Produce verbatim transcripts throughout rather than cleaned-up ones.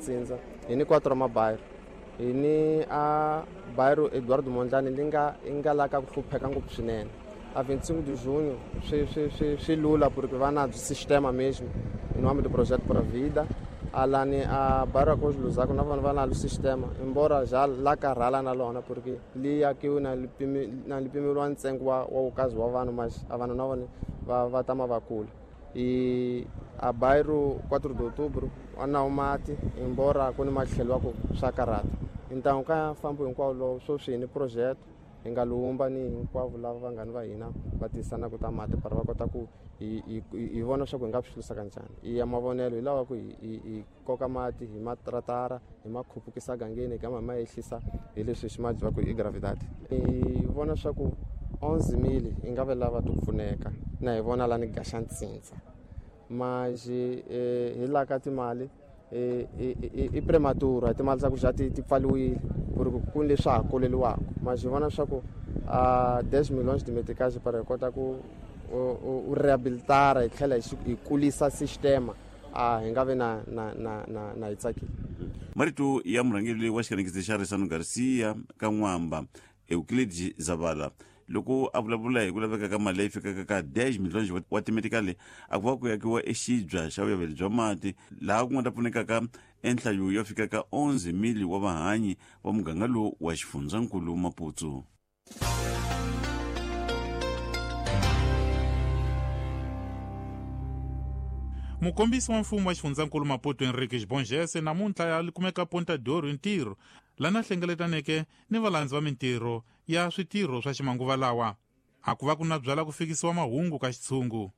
Ntsindza hi ni quatro mabairro hi ni a bairro Eduardo Mondlane li nga yi nga la ka ku hlupheka ngopfu swinene. A vinte e cinco de junho swi swi swi swi lula porque va na sistema mesmo em nome do projeto Para Vida. Alani a bairro Cos Luzaco na vona va na lo sistema embora já la karhala na lona porque li akiwe na lipimi na lipimeliwa ntsengo wa wa wukazi wa vanhu mas a vanhu na vona va va tama va kula. E a bairro quatro de outubro a na mati embora ku ni matlhelo wa ku swa karhata. Então ka fambo hinkwawo lowu sweswi hi ni projeto hi nga lumba ni hinkwavo lava vanghani va hina va tisana ku ta mati para va kota ku hi hi hi vona swa ku hi nga swi hlurisa kanjhani. I ya mavonelo hi lava ku hi hi hi koka mati hi matratara hi ma khupukisa gangeni hi gama hi ma ehlisa hi leswi xi ma ku i gravidade. Hi vona swa ku onze mil hi nga ve lava ti pfuneka na hi vona la ni gaxa ntsindza mas hi la ka timali i prematura hi timali ta ku xa ti ti pfaliwile ku ri ku ni leswi ha koleliwaka mas hi vona swa ku a dez milhões de meticais para hi kota ku u rehabilitara hi tlhela hi kulisa sistema a hi nga vi na na na na na hi tsakile. Marito ya murhangeri wa xikanekisi xa Risano Garcia ka N'wamba Euclid Zavala loko a vulavula hi ku laveka ka mali leyi fikaka ka dez milhões wa timetikali a ku va ku yakiwa exibya xa vuyaveri bya mati laha ku nga ta pfunekaka enhlayo yo fika ka onze mil wa vahanyi va muganga lowu wa xifundzankulu Maputo. Mukombisi wa mfumo wa xifundzankulu Maputo Henrique Bongese namuntlha ya kumeka Ponta d'Ouro hi ntirho lana hlengeletaneke ni valandzi va mintirho ya switirho swa ximanguva lawa a ku va ku na byala ku fikisiwa mahungu ka xitshungu.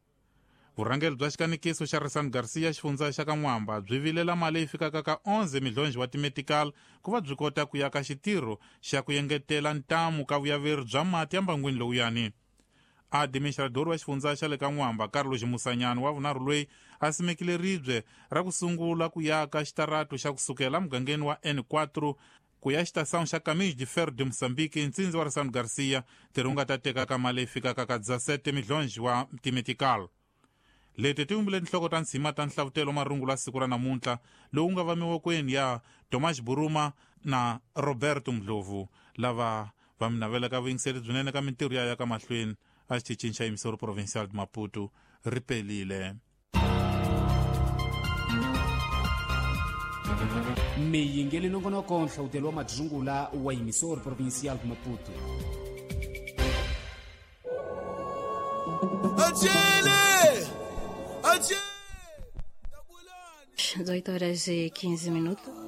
Vurhangeri bya xikanekiso xa Risano Garcia xifundza xa ka N'wamba byi vilela mali leyi fikaka ka onze milhões wa timetical ku va byi kota ku yaka xitirho xa ku engetela ntamu ka vuyaveri bya mati ya mbangwini lowuyani. Administrador wa xifundza xa le ka N'wamba Carlos Musanyana wa vunharhu loyi a simekile ribye ra ku sungula ku yaka xitarato xa kusukela mugangeni wa N quatro ku ya xitação xa Caminhos de Ferro de Moçambique ntsindzi wa Risano Garcia ntirho wu nga ta teka ka mali leyi fikaka ka dezessete milhões wa timetical. Leti ti vumbile tinhloko ta ntshima ta nhlavutelo marungulo ya siku ra namuntlha lowu nga va mivokweni ya Tomás Buruma na Roberto Ndlovu lava va mi navelaka vuyingiseri byinene ka mintirho ya ya ka mahlweni a xitichini xa Emissora Provincial de Maputo ri pelile. Miyingeli nongonoko nhlawutelo wa madzungula wa Emissora Provincial de Maputo. dezoito horas e quinze minutos.